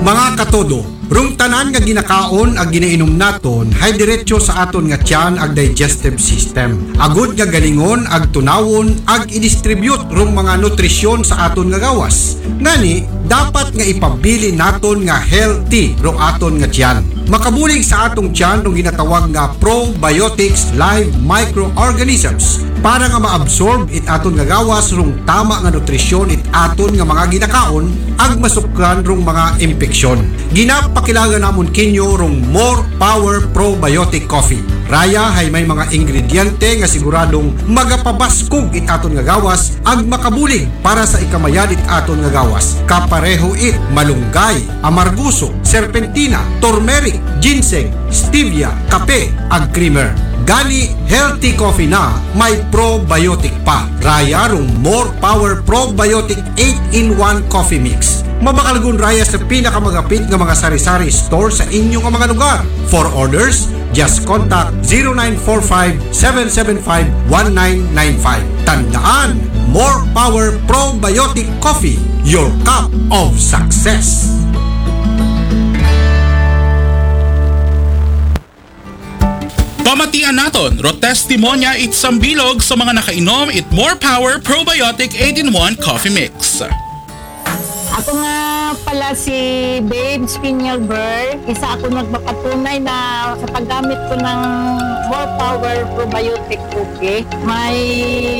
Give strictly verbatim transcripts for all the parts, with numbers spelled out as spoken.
Mga katodo, rung tanan nga ginakaon ag ginainom naton hay diretso sa aton nga tiyan ag digestive system. Agud nga galingon ag tunawon ag i-distribute rung mga nutrisyon sa aton nga gawas. Ngani, dapat nga ipabilin naton nga healthy rung aton nga tiyan. Makabulig sa atong tiyan rung ginatawag nga probiotics live microorganisms para nga maabsorb it aton nga gawas rung tama nga nutrisyon it aton nga mga ginakaon ag masukran rung mga impeksyon. Ginapakilaga namon kinyo rung More Power Probiotic Coffee. Raya hay may mga ingrediente nga siguradong magapabaskog it aton nga gawas ag makabulig para sa ikamayad it aton nga gawas. Kapareho it malunggay, amarguso, serpentina, turmeric, ginseng, stevia, kape, ag creamer. Gani, healthy coffee na may probiotic pa. Raya rung More Power Probiotic eight-in-one Coffee Mix. Mabakal gun raya sa pinakamagapit nga mga sari-sari store sa inyo nga mga lugar. For orders, just contact zero nine four five, seven seven five, one nine nine five. Tandaan, More Power Probiotic Coffee, your cup of success. Pamatian naton, ro testimonya it sambilog sa mga nakainom it More Power Probiotic eight-in-one Coffee Mix. Ako nga pala si Babes Piñalber, isa ako nagpapatunay na sa paggamit ko ng More Power Probiotic Coffee, may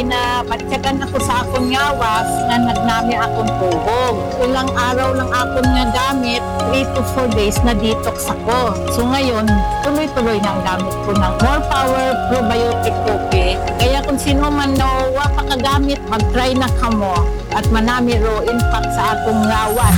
nabatyagan ako sa akong ngawas nga nagnami akong tubog. Ilang araw lang akong nagamit, three to four days na detox ako. So ngayon, tuloy-tuloy na ang gamit ko ng More Power Probiotic Coffee. Kaya kung sino man no, wa pa kagamit, mag-try na kamo at manami ro impact sa atong ngawas.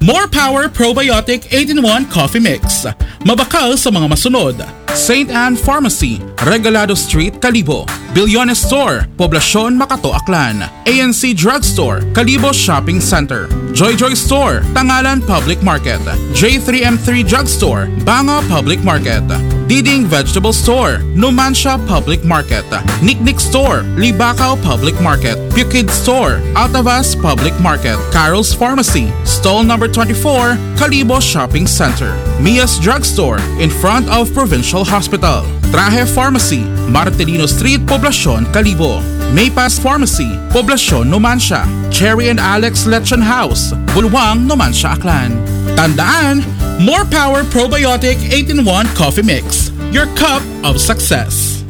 More Power Probiotic eight-in-one Coffee Mix. Mabakal sa mga masunod. Saint Anne Pharmacy, Regalado Street, Kalibo. Billones Store, Poblacion, Makato, Aklan. A N C Drugstore, Kalibo Shopping Center. Joy Joy Store, Tangalan Public Market. J three M three Drugstore, Banga Public Market. Diding Vegetable Store, Numancia Public Market. Nick Nick Store, Libacao Public Market. Pukid Store, Altavas Public Market. Carol's Pharmacy, Stall Number twenty-four, Kalibo Shopping Center. Mia's Drugstore, in front of Provincial Hospital. Trahe Pharmacy, Martelino Street, Poblacion, Kalibo. Maypass Pharmacy, Poblacion, Numancia. Cherry and Alex Lechon House, Bulwang, Numancia, Aklan. Tandaan, More Power Probiotic eight-in-one Coffee Mix, your cup of success.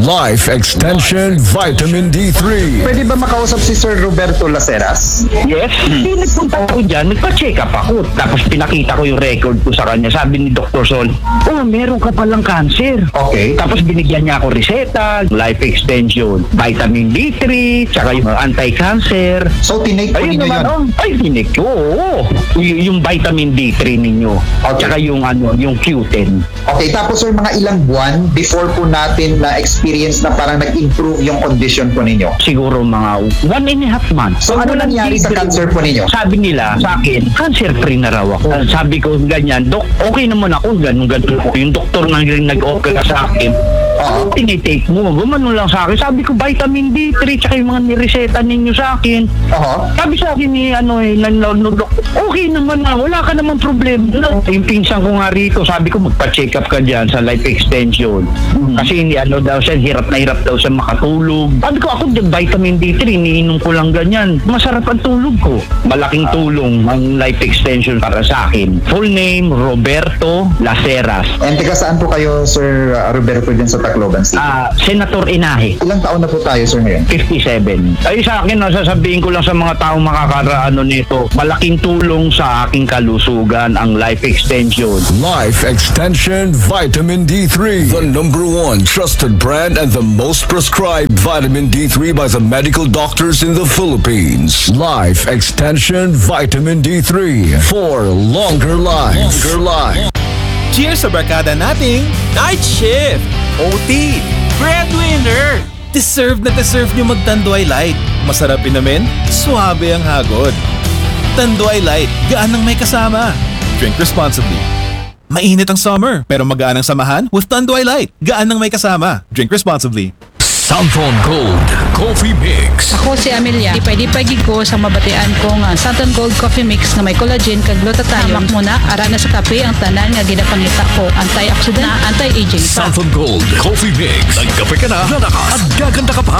Life Extension Vitamin D three. Pwede ba makausap si Sir Roberto Laceras? Yes. Hindi, nagpunta ako dyan, nagpa-check up ako. Tapos pinakita ko yung record ko sa kanya. Sabi ni Doktor Sol, "Oh, meron ka palang cancer." Okay. Tapos binigyan niya ako reseta, life extension, vitamin D three, tsaka yung anti-cancer. So, tinake po Ayun ninyo naman, yun? Oh. Ay, tinake ko, oo. Y- yung vitamin D three ninyo. Okay. Tsaka yung, ano, yung Q ten. Okay, tapos sir, mga ilang buwan before po natin na-experience na parang nag-improve yung condition po ninyo? Siguro mga one and a half months. So, ano Walang nangyari sa tigil. Cancer po ninyo? Sabi nila sa akin, cancer free na raw ako. Sabi ko ganyan, "Dok, okay naman ako, ganun ganun ako." Yung doktor na rin nag-opera sa akin, "Ano tinitake mo?" Gumano lang sa akin. Sabi ko, "Vitamin D three, tsaka yung mga nireseta ninyo sa akin." Aha. Sabi sa akin ni, ano, eh, ng, ng, ng doktor, "Okay naman na, wala ka naman problema." Yung pinsan ko nga rito, sabi ko, "Magpa-check up ka dyan sa life extension." Kasi hindi, ano daw siya, hirap na hirap daw siya makatulog. Sabi ko, "Ako, vitamin D three, iniinom ko lang ganyan. Masarap ang tulog ko." Malaking tulong ang life extension para sa akin. Full name, Roberto Laceras. And taga saan po kayo, Sir uh, Roberto, dyan sa Tacloban City? Ah, Senator Inahe. Ilang taon na po tayo, sir, ngayon? Fifty-seven. Ay, sa akin, no, sasabihin ko lang sa mga taong makakaraano nito, malaking tulong sa aking kalusugan ang life extension. Life Extension Vitamin D three. The number one trusted brand and the most prescribed vitamin D three by the medical doctors in the Philippines. Life Extension Vitamin D three. For longer life. Longer life. Cheers sa barkada nating night shift, O T, breadwinner. Deserve na deserve nyo mag-Tanduay Light. Masarap inumin, suabe ang hagod. Tanduay Light, gaan ng may kasama. Drink responsibly. Mainit ang summer, pero magaan ang samahan with Tanduay Light. Gaan ng may kasama. Drink responsibly. Santon Gold Coffee Mix. Ako si Amelia. Lipay-lipay gid ko sa mabatian ko nga Santon Gold Coffee Mix nga may collagen kag glutathione. Hamak mo na, ara na sa kape ang tanan nga ginapangita ko. Antioxidant, anti-aging pa. Santon Gold Coffee Mix. Nagkape ka na, lalakas, at gaganda ka pa.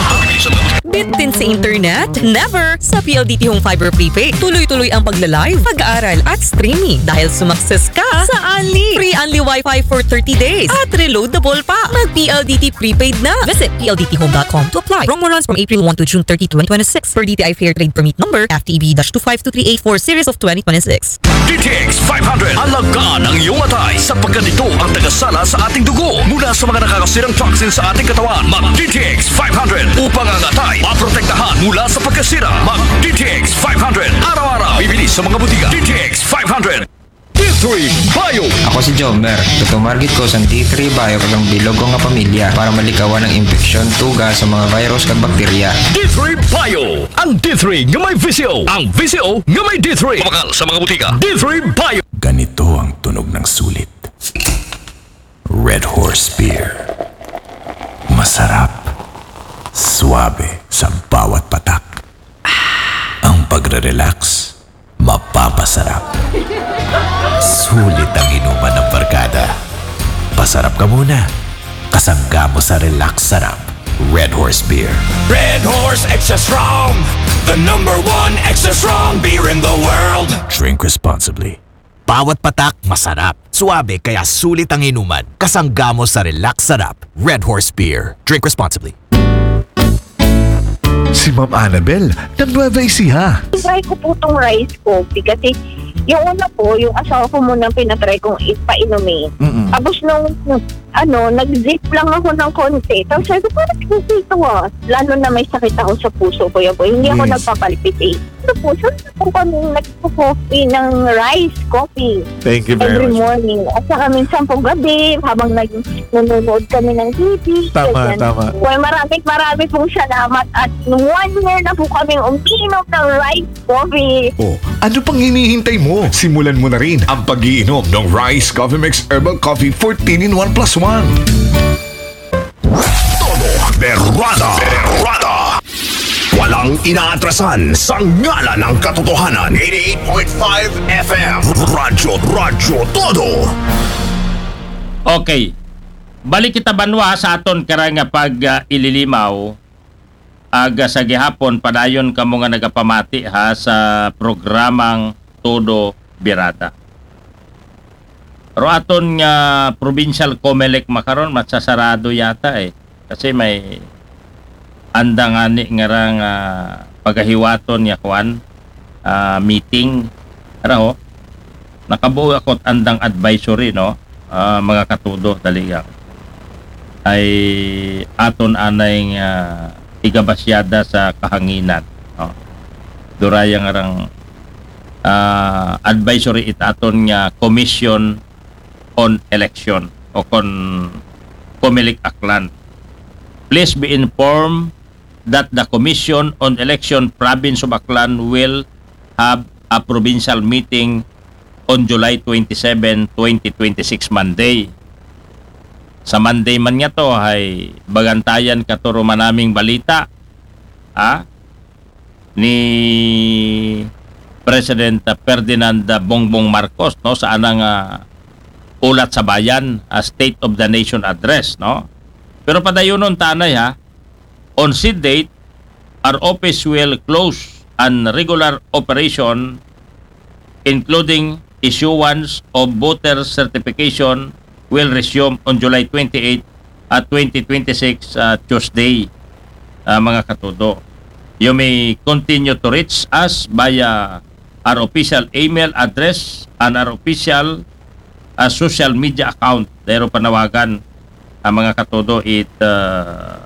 Bitin sa internet? Never! Sa P L D T Home Fiber Prepaid, tuloy-tuloy ang pagla-live, pag-aaral at streaming dahil sumakses ka sa Unli. Free Unli Wi-Fi for thirty days at reloadable pa. Mag P L D T Prepaid na. Visit P L D T home dot com to apply. Promo runs from April one to June thirty, twenty twenty-six. Per D T I Fair Trade Permit Number F T E B dash two five two three eight four series of twenty twenty-six. D T X five hundred. Alagaan ang iyong atay sapagkat ito ang tagasala sa ating dugo mula sa mga nakakasirang toxin sa ating katawan. Mag D T X five hundred upang ang atay maprotektahan mula sa pagkasira. Mag D T X five hundred araw-araw. Bibili sa mga butika. D T X five hundred. D three Bio. Ako si Jomer. Tutumargit ko sa D three Bio kag ang bilog ko nga pamilya para malikawan ang impeksyon, tuga sa mga virus kag bakterya. D three Bio. Ang D three nga may V C O. Ang V C O nga may D three. Mabakal sa mga butika. D three Bio. Ganito ang tunog ng sulit. Red Horse Beer. Masarap. Suabe sa bawat patak. Ang pagre-relax, mapapasarap. Sulit ang inuman ng barkada. Pasarap ka muna. Kasangga mo sa relax sarap. Red Horse Beer. Red Horse Extra Strong, the number one extra strong beer in the world. Drink responsibly. Bawat patak masarap. Suabe kaya sulit ang inuman. Kasangga mo sa relax sarap. Red Horse Beer. Drink responsibly. Si Ma'am Annabel ng Nueva Ecija. Try ko po itong rice coffee kasi yung una po, yung asawa ko muna ang pinatry kong ipainumin. Mm-mm. Tapos nung ano, nag-zip lang ako ng konti. Tapos sabi ko, parang ito ah. Lalo na may sakit ako sa puso, Kuya Boy. Hindi ako Yes. Nagpapalpitate. Sa puso, po kami nagpo-coffee ng rice coffee Thank you every morning. At saka minsan po gabi, habang nag nanonood kami ng T V. Tama, ganyan. tama. Well, maraming maraming pong salamat at one year na po kaming uminom ng rice coffee. Oh, ano pang hinihintay mo? Simulan mo na rin ang pag-iinom ng Rice Coffee Mix Herbal Coffee fourteen in one plus one. Todo Berrada. Berrada. Walang inaatrasan sa ngalan ng katotohanan. Eighty-eight point five F M. Radyo, Radyo Todo. Okay. Balik kita banwa sa aton karang pag ah, ililimaw. Aga sa gihapon, padayon kamo nga nagapamati ha sa programang Todo Birada. Pero aton nga provincial Comelec makaron matsasarado yata eh. Kasi may andang ani nga rang ah, pagahiwaton nga kwan, ah, meeting. Ara ho, nakabuo ako andang advisory, no? Ah, mga katudo, dali lang. Ay aton anay nga igabasyada sa kahanginan, no? Duraya nga rang ah, advisory it aton nga Commission on Election o kon Comelec Aklan. Please be informed that the Commission on Election Province of Aklan will have a provincial meeting on July twenty-seven, twenty twenty-six, Monday. Sa Monday man nga to, ay bagantayan katuro manaming balita. Ha? Ni President Ferdinand Bongbong Marcos, no, sa anang ah, ulat sa bayan, ah, State of the Nation Address, no. Pero padayunon tanay ha, on said date, our office will close and regular operation including issuance of voter certification will resume on July twenty-eight at twenty twenty-six, uh, Tuesday, uh, mga katudo. You may continue to reach us via our official email address and our official uh, social media account. Dayro panawagan ang mga katudo it uh,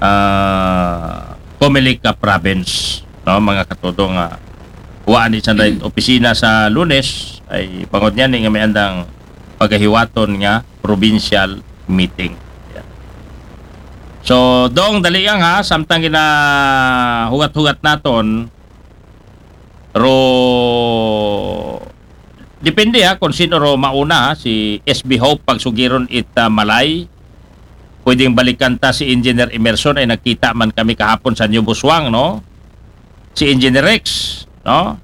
uh, Comelec province, no, mga katudo nga wa ni sa opisina sa Lunes ay bangod niyan nga may andang pagahiwaton nga provincial meeting. Yeah. So, dong dali lang ha, samtang gina hugat-hugat naton ro depende ha kung sino ro mauna ha, si S B Hope pagsugiron it uh, Malay pwedeng balikan ta si Engineer Emerson, ay nagkita man kami kahapon sa New Busuang, no? Si Engineer Rex, no?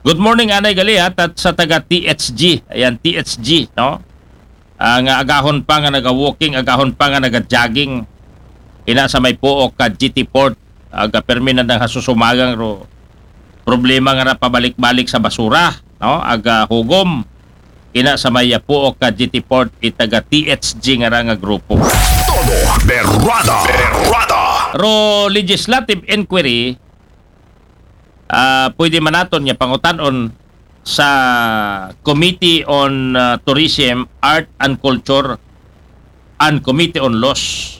Good morning, anay gali, ha, tat-, sa taga T H G. Ayan, T H G, no? Ah, nga agahon pa nga naga-walking, agahon pa nga naga-jogging. Ina sa may puok ka G T Port, aga permi na nga susumagang ro problema nga ra pabalik-balik sa basura, no? Aga hugom. Ina sa may puok ka G T Port, itaga T H G nga ra nga grupo. Todo Berrada. Berrada. Ro legislative inquiry, ah, pwede man naton nga pangutan-on sa Committee on, ah, Tourism, Art and Culture, and Committee on Laws.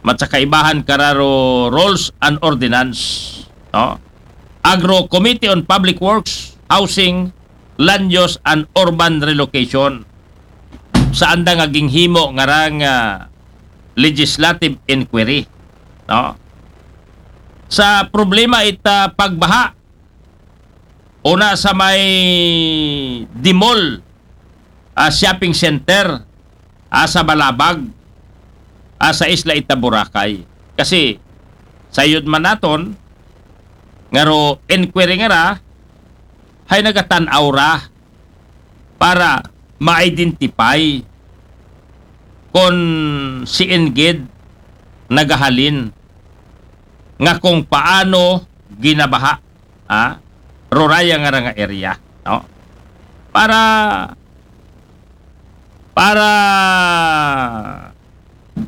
Matsakaibahan kararo Rules and Ordinance, no? Agro Committee on Public Works, Housing, Land Use, and Urban Relocation. Sa andang nga ginhimo nga ra nga legislative inquiry, no? Sa problema ita pagbaha, una sa may Dimol, ah, shopping center, ah, sa Balabag, ah, sa isla ita Boracay. Kasi, sayod man naton, nga ro inquiry nga ra, hay nagatan-aw ra para ma-identify kon si Ingid nagahalin nga kung paano ginabaha, ah, ruraya nga ra nga area, no? Para, para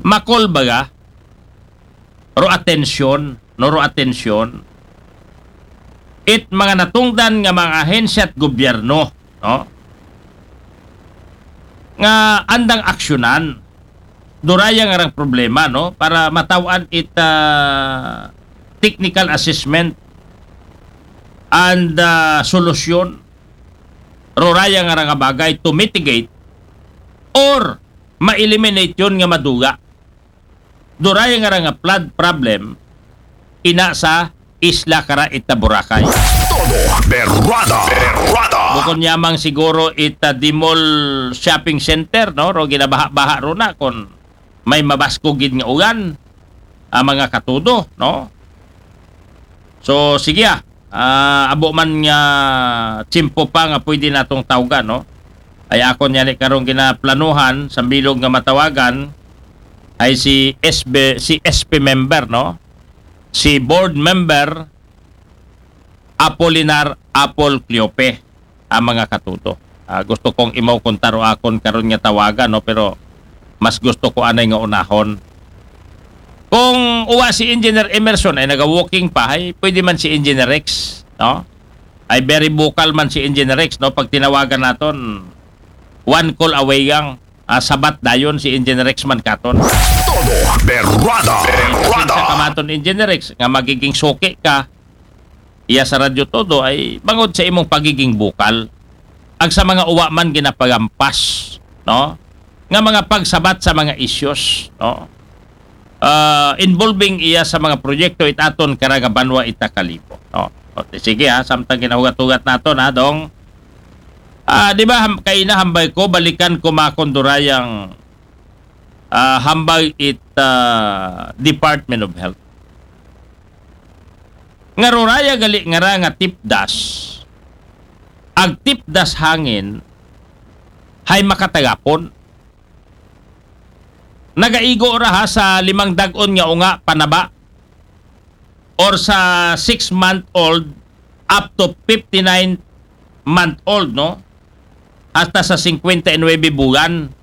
makol baga, ro atensyon, no, ro atensyon, it mga natungdan nga mga ahensya at gobyerno, no? Nga andang aksyonan, duraya nga rang problema, no? Para mataw-an it, ah, technical assessment and, ah, solusyon, ruraya nga ra nga bagay to mitigate or ma-eliminate yon nga maduga. Duraya nga ra nga flood problem, ina sa isla kara ita Boracay. Todo Berrada. Berrada. Bukon yamang siguro ita Dimol Shopping Center, no? Ro ginabaha-baha ro na kon may mabasko gid nga ulan, ah, mga katudo, no? So, sige, ah. Ah, abo man nga tiyempo pa nga pwede natong tawgan, no? Ay akon yani karong ginaplanuhan sa bilog nga matawagan ay si S B, si S P member, no? Si board member Apolinar Apol Cleope, ang mga katuto. Ah, gusto kong imaw kung taro akon karon nga tawagan, no? Pero mas gusto ko anay nga unahon. Kung uwa si Engineer Emerson ay naga-walking pa, ay pwede man si Engineer Rex, no? Ay very vocal man si Engineer Rex, no? Pag tinawagan naton, one call away yang, ah, sabat dayon si Engineer Rex man katon. Todo Berrada. Berrada. Sa kamaton Engineer Rex, nga magiging suki ka, iya sa Radyo Todo ay bangod sa imong pagiging bukal. Ag sa mga uwa man ginapagampas, no? Nga mga pagsabat sa mga issues, no? Ah, involving iya sa mga proyekto it aton kara nga banwa ita Kalibo, no? O, sige ha, samtang ginahugat-hugat naton ha, Dong. Ah, di ba, ham-, kaina hambay ko, balikan ko makon durayang, ah, hambay it, ah, Department of Health. Nga ruraya gali nga ra nga tipdas. Ag tipdas hangin, hay makatagapon. Nagaigo ra ha sa limang dag-on nga unga panaba or sa six month old up to fifty-nine month old, no? Hasta sa singkwenta y nuebe bulan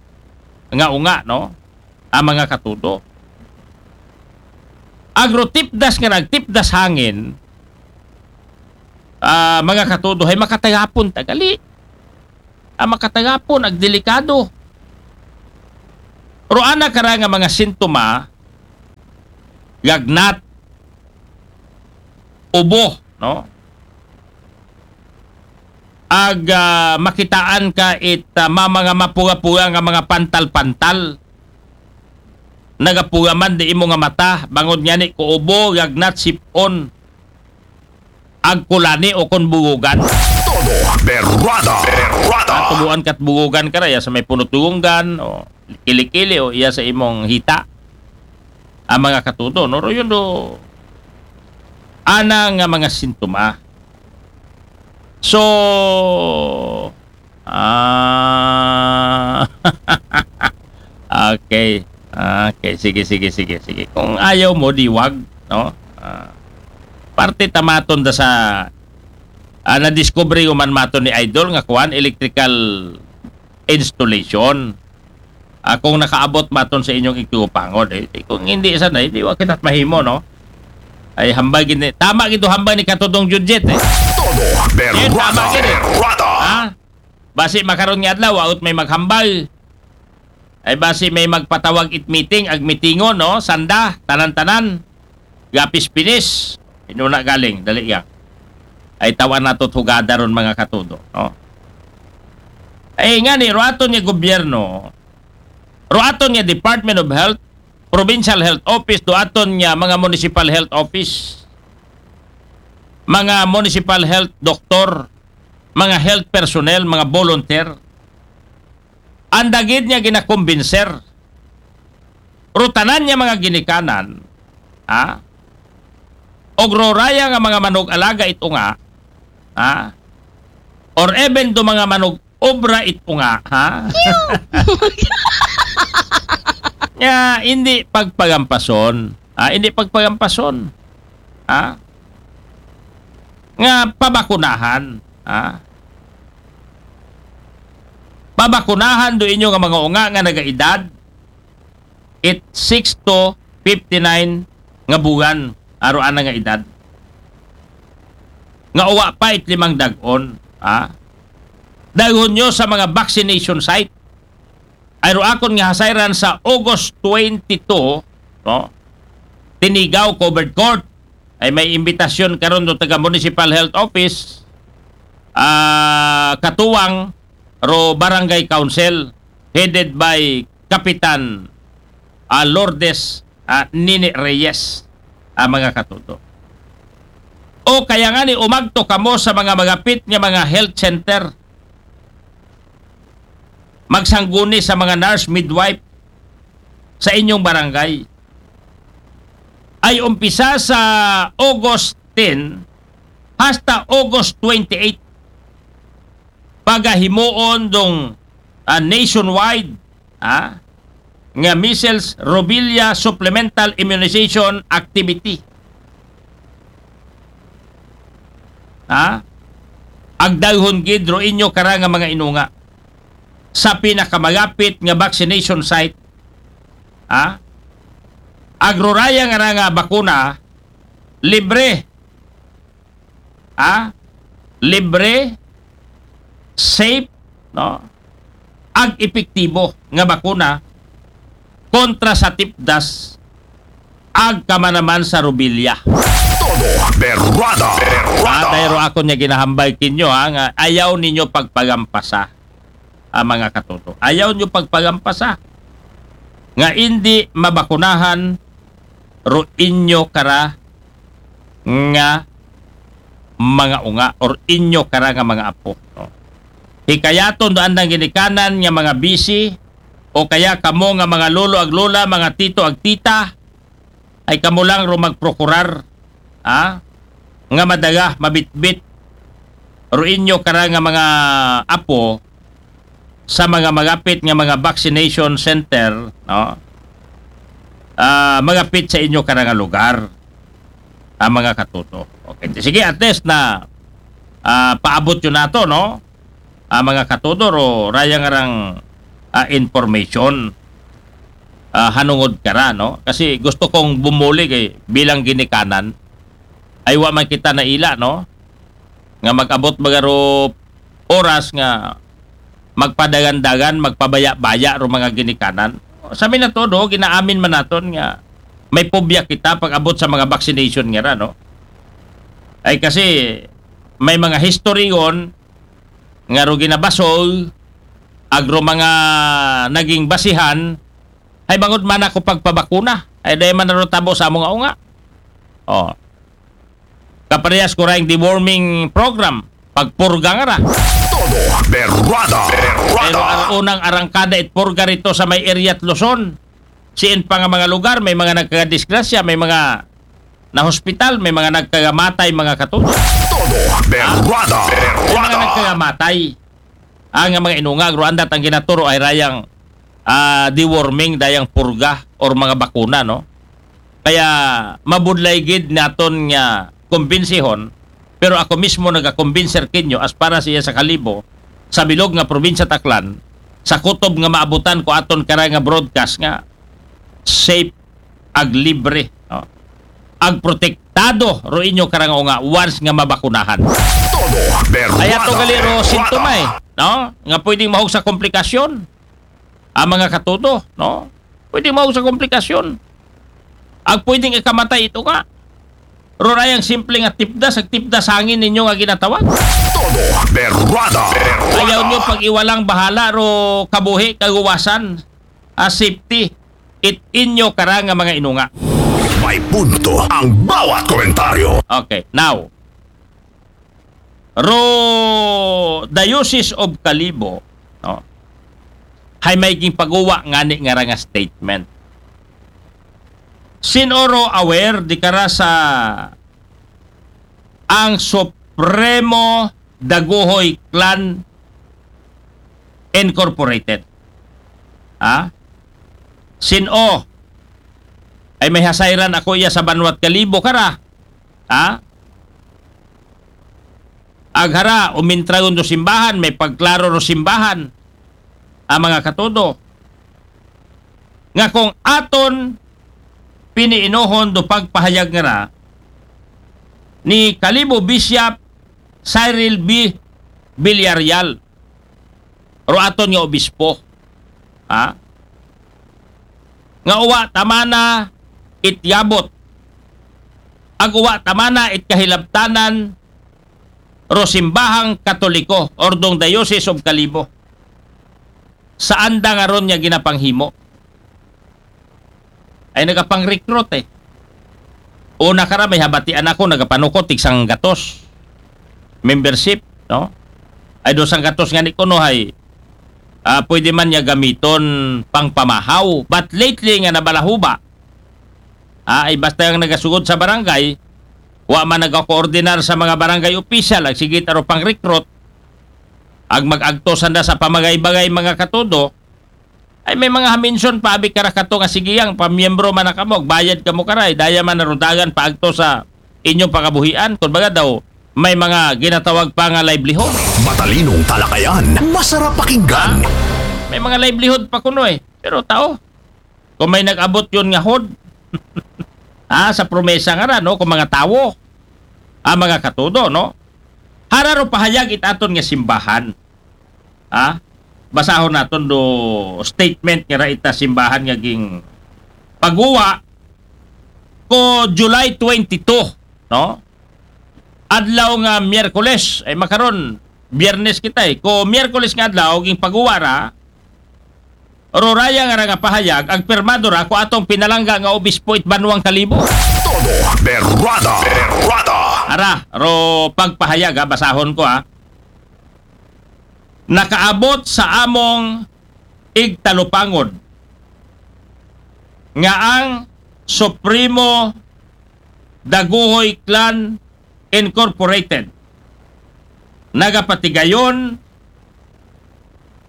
nga unga, no? Ang mga katudo. Agro tipdas nga nagtipdas hangin, ah, mga katudo, hay makatagapon tagali. Ang makatagapon, ag delikado. Ro ana kara nga mga sintoma, gagnat, ubo, no? Ag, ah, makitaan ka it, ah, ma-, mga mapuga-puga nga mga pantal-pantal. Nagapuga man di imo nga mata, bangod ngani ko ubo, gagnat, sipon, ag kulani o kon bugugan. Todo Berrada. Berrada. Ah, tubuan kat bugugan ka ra, ya sa may punot dugunggan, o kilikili o iya sa imong hita, ang mga katudo, no? Ro yun do, ana nga mga sintoma. So, ah, okay. Okay, sige, sige, sige, sige. Kung ayaw mo, di wag, no? Ah, parte tamaton da sa, ah, nadiskubre ko man maton ni Idol nga kuan, electrical installation. Ah, kung nakaabot maton sa inyong igtupangon, eh, eh, kung hindi sana, hindi wa kita mahimo, no? Ay, hambag gini. Tama gito, hambag ni Katudong Judget, eh. Todo Eh, tama berrada, gini. berrada. Ha? Basi makaron nga adlaw, waot may maghambal. Ay basi may magpatawag it meeting, ag meetingon, no? Sanda, tanan-tanan. Gapis pinis. Inuna galing, dali ya. Ay tawan nato hugada ron, mga katudo, no? Ay nga ni, ro aton nga gobyerno, ro aton nga Department of Health, Provincial Health Office, do aton nga mga Municipal Health Office, mga Municipal Health Doctor, mga health personnel, mga volunteer, ang dagid niya ginakumbinser. Rutanan niya mga ginikanan, ha? Og roraya nga mga manog alaga ito nga, ha? Or even do mga manog obra ito nga, ha? Nga, hindi pagpagampason. Ah, hindi pagpagampason. Ha? Nga pabakunahan. Ha? Pabakunahan do inyo nga mga unga nga nagaedad, it six to fifty-nine nga buwan, aro ana nga edad. Nga uwa pa it limang dag-on, ha? Daghon nyo sa mga vaccination site. Ay ro akon nga hasayran sa August twenty-two, no? Tinigaw Covered Court. Ay may imbitasyon karon do taga Municipal Health Office, ah, katuwang ro Barangay Council, headed by Kapitan, ah, Lourdes, ah, Nini Reyes, ang mga katudo. O kaya nga ni, umagto kamo sa mga magapit nga mga health center, magsangguni sa mga nurse midwife sa inyong barangay. Ay umpisa sa August ten hasta August twenty-eight, pagahimuon dong, ah, nationwide, ah, nga measles rubella supplemental immunization activity. Ha? Agdaghon gid ro inyo kara nga mga inunga sa pinakamagapit nga vaccination site. Ha? Agroraya nga ra nga bakuna, libre. Ha? Libre, safe, no? Ag epektibo nga bakuna kontra sa tipdas, ag kamanaman sa rubella. Todo berrada, berrada. Atay ro akon nga ginahambal kinyo, ha, nga ayaw ninyo pagpagampasa, ah, mga katuto. Ayaw nyo pagpagampasa nga indi mabakunahan ro inyo kara nga mga unga or inyo kara nga mga apo, no? Hikayaton do andang ginikanan nga mga bisi o kaya kamo nga mga lolo ag lola, mga tito ag tita, ay kamo lang ro magprokurar, ha? Nga madaga, mabitbit ro inyo kara nga mga apo sa mga magapit nga mga vaccination center, no? Ah, magapit sa inyo kara nga lugar, ang mga katuto. Okay, sige, at least na, ah, paabot yun nato, no? Ah, mga katuto, ro raya nga rang, ah, information, ah, hanungod kara, no? Kasi gusto kong bumuli kay bilang ginikanan, ay wa man kita naila, no? Nga mag-abot baga ro oras nga magpadagan-dagan, magpabaya-baya ro mga ginikanan. Sa mi na todo, ginaamin man naton nga may pobya kita pag-abot sa mga vaccination nga ra, no? Ay kasi may mga history yon nga ro ginabasol, ag ro mga naging basihan, ay bangod man ako pagpabakuna, ay dahil man na ro tabo sa among unga. Oh. Kaparehas ko ra ing deworming program, pagpurga nga ra. Todo berrada, berrada. Pero ang unang arangkada it purga rito sa may Iriat, Luzon. Siin pa nga mga lugar, may mga nagkagadisgrasya, may mga na hospital, may mga nagkagamatay, mga katudo. Todo berrada. May mga Berrada. Nagkagamatay. Ang mga inungag, ro andat ang ginaturo ay rayang ah, deworming, dayang purga, or mga bakuna, no? Kaya mabudlay gid naton nga kumbinsihon, pero ako mismo nagakumbinser kinyo as para siya sa Kalibo, sa bilog nga probinsya Aklan, sa kutob nga maabutan ko aton kara nga broadcast nga safe ag libre, no? Ag protektado ro inyo kara nga unga once nga mabakunahan. Todo berrada. Kaya to gali ro Berrada. Sintoma, eh, no? Nga pwedeng mahog sa komplikasyon ang mga katudo, no? Pwedeng mahog sa komplikasyon. Ag pwedeng ikamatay ito ka. Ro rayang simple nga tipdas, ag tipdas hangin ninyo nga ginatawag. Todo berrada. Berrada. Ayaw nyo pag-iwalang bahala ro kabuhi, kaguwasan, ah, safety. It inyo kara nga mga inunga. May punto ang bawat komentaryo. Okay, now, ro Diocese of Kalibo, no? Hay may ginpaguwa ngani nga ra nga statement. Sin-o ro aware di kara sa ang Supremo Daguhoy Clan Incorporated? Ha? Sin-o? Ay may hasayran ako iya sa banwat Kalibo kara. Ha? Aghara, umintrayon do simbahan, may pagklaro ro simbahan. Ang mga katudo. Nga kung aton piniinohon do pagpahayag nga ra ni Kalibo Bishop Cyril B. Villarreal, ro aton nga obispo. Ha? Nga uwa tamana it yabot. Ag uwa tamana it kahilabtanan ro simbahang Katoliko, or dong Diocese of Kalibo. Saan da nga ron niya ginapanghimo? Ay nagapang-recruit, eh. Una kara, may habatian ako, nagapanukot, tig sanggatos. Membership, no? Ay do sanggatos nga ni kuno hay, ah, pwede man niya gamiton pang pamahaw. But lately nga nabalahuba, ah, ay basta ang nagasugod sa barangay, wa man nagakoordinar sa mga barangay official, ag sige taro pang-recruit, ag mag-agto sanda sa pamagay-bagay mga katudo, ay may mga haminsyon pa abi kara kato nga sige ang pamiyembro man na kamo, bayad kamo karay, daya man narudagan paagto sa inyong pakabuhian, kun baga daw may mga ginatawag pa nga livelihood. Matalinong talakayan. Masarap pakinggan. May mga livelihood pa kuno eh. Pero tao, kung may nag-abot yun nga hod, ah, sa promesa nga ra, no, kung mga tawo, ah, mga katudo, no? Hara ro pahayag it aton nga simbahan. Ah, basahon naton do statement nga ra ita simbahan nga ging paguwa ko July twenty-two, no? Adlaw nga Miyerkules, ay makaron, Biyernes kita eh. Ko Miyerkules nga adlaw, ging paguwa ra, ro raya nga ra nga pahayag, ag pirmado ra ko atong pinalangga nga obispo it Banwang Kalibo. Todo berrada. Berrada. Ara, ro pagpahayag ha, basahon ko ha. Nakaabot sa among igtalupangod nga ang Supremo Daguhoy Clan Incorporated nagapatigayon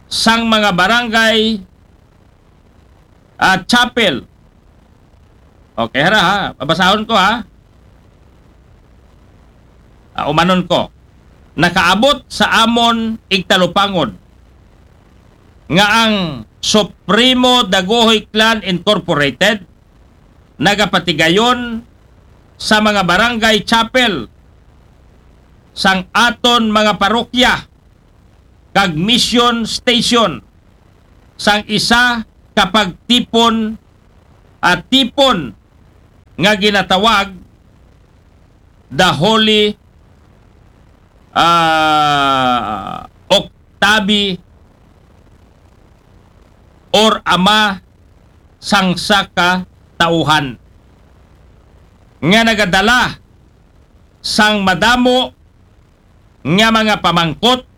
sang mga barangay at chapel. Okay, hara ha. Babasahon ko ha. Ah, umanon ko. Nakaabot sa amon igtalupangod nga ang Supremo Daguhoy Clan Incorporated nagapatigayon sa mga barangay chapel sang aton mga parokya kag mission station sang isa ka pagtipon at tipon nga ginatawag the Holy ah, Octavi or Ama sang Sakatauhan nga nagadala sang madamo nga mga pamangkot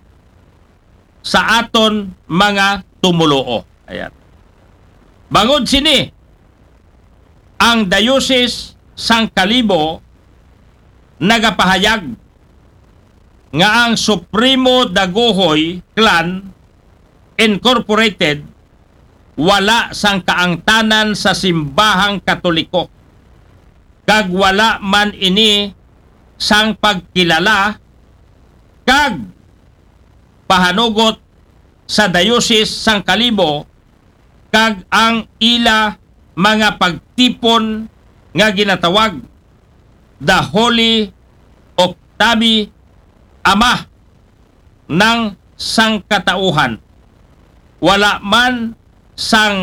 sa aton mga tumuluo. Ayan. Bangod sini, ang Diocese sang Kalibo nagapahayag nga ang Supremo Dagohoy Clan Incorporated wala sang kaangtanan sa simbahang Katoliko, kag wala man ini sang pagkilala kag pahanugot sa Diocese sang Kalibo kag ang ila mga pagtipon nga ginatawag The Holy Octavi, Ama ng Sangkatauhan. Wala man sang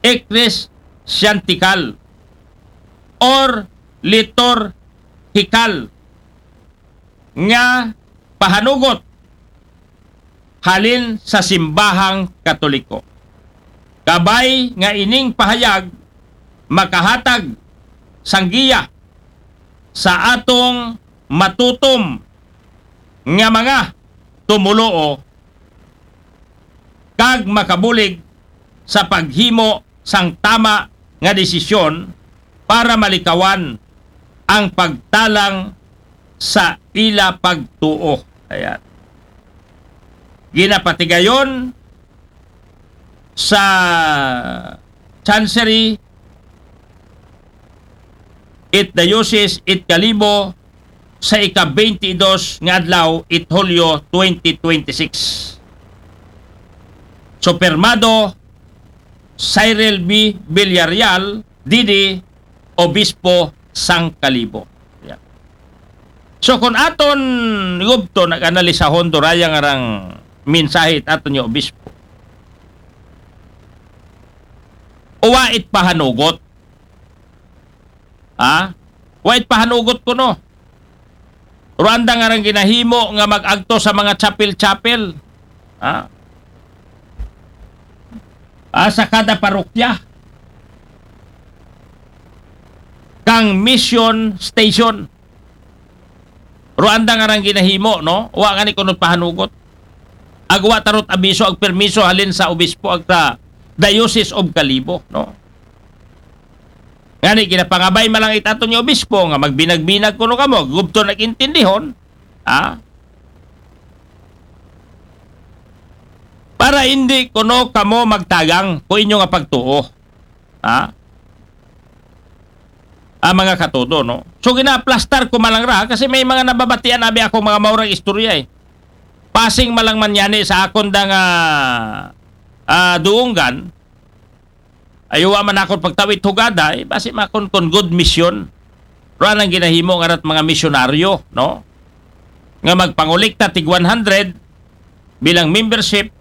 ecclesiastical or liturgical nga pahanugot halin sa simbahang Katoliko. Kabay nga ining pahayag makahatag sang giya sa atong matutom nga mga tumuluo kag makabulig sa paghimo sang tama nga desisyon para malikawan ang pagtalang sa ila pagtuo. Ayan. Ginapatigayon sa Chancery it Diocese it Kalibo sa ika-twenty-two nga adlaw it Hulyo twenty twenty-six. Supermado Cyril B. Villarreal, D D, Obispo sang Kalibo. Yeah. So, kung aton gubto nag-analisahon, duraya nga rang mensahe it aton nga obispo. Uwa it pahanugot. Ha? Wa it pahanugot kuno. Ruanda nga rang ginahimo nga mag-agto sa mga chapel-chapel. Ha? Ah, sa kada parokya. Kang mission station. Ruanda nga rang ginahimo, no? Wa nga ni kuno pahanugot. Agwa tarot abiso ag permiso halin sa obispo ag sa Diocese of Kalibo, no? Ngani, ginapangabay man lang it aton nga obispo nga magbinag-binag kuno kamo, gubto nag-intindihon, ha? Para hindi kuno kamo magtagang ko inyo nga pagtuo. Ha? Ah, mga katodo, no? So, ginaplastar ko man lang ra, kasi may mga nababatian abi ako mga maurang istorya, eh. Pasing man lang man yani sa akon da nga, ah, duunggan, ay wa man akon pagtawit hugada, eh, basi makon kon good mission. Ruan ang ginahimo nga rat mga misyonaryo, no? Nga magpangolekta tig one hundred bilang membership,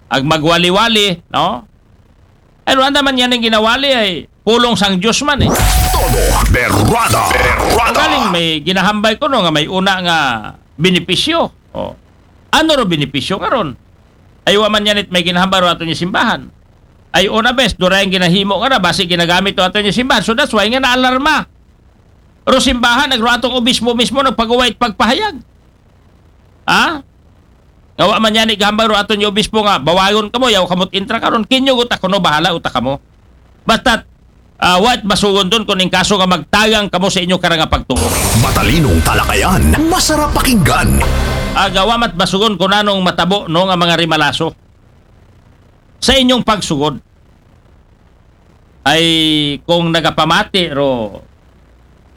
ag magwali-wali, no? Ay, ruan naman yan ang ginawali ay pulong sang Diyos man, eh. Todo Berrada. Berrada. Galing may ginahambay ko, no, nga may una nga benepisyo. Oh. Ano ro benepisyo nga ron? Ay, wa man yan it may ginahambay ro ato niya simbahan. Ay, una bes, dura yung ginahimo nga na, basi ginagamit to ato niya simbahan. So that's why nga naalarma. Ro simbahan, nagro atong obispo mismo, nagpagawa it pagpahayag. Ha? Nga wa man yan igahambay ro aton yung obispo nga, bawayon kamo, yaw kamot intra karon, kinyo uta kuno, bahala uta kamo. Basta, ah, wa it basugon doon kung in kaso nga magtagang kamo sa inyo karanga pagtuo. Matalinong talakayan, masarap pakinggan. Agawa mat basugon ko nanong matabo, no, nga mga rimalaso sa inyong pagsugod. Ay kung nagapamati ro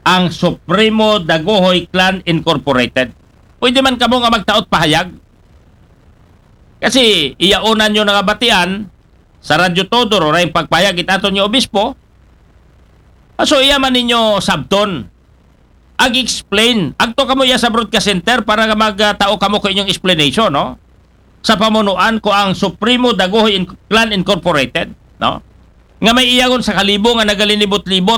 ang Supremo Dagohoy Clan Incorporated. Pwede man kamo nga magtaot pahayag. Kasi iyaunan nyo nangabatian sa Radyo Todo ro na yung pagpahayag itaton nyo obispo. Ah, so iya man ninyo sabton. Ag-explain. Agto kamo iya sa broadcast center para nga magtao kamo ko inyong explanation, no? Sa pamunuan ko ang Supremo Dagohoy In- Clan Incorporated, no? Nga may iyagon sa Kalibo nga nagalinibot-libot,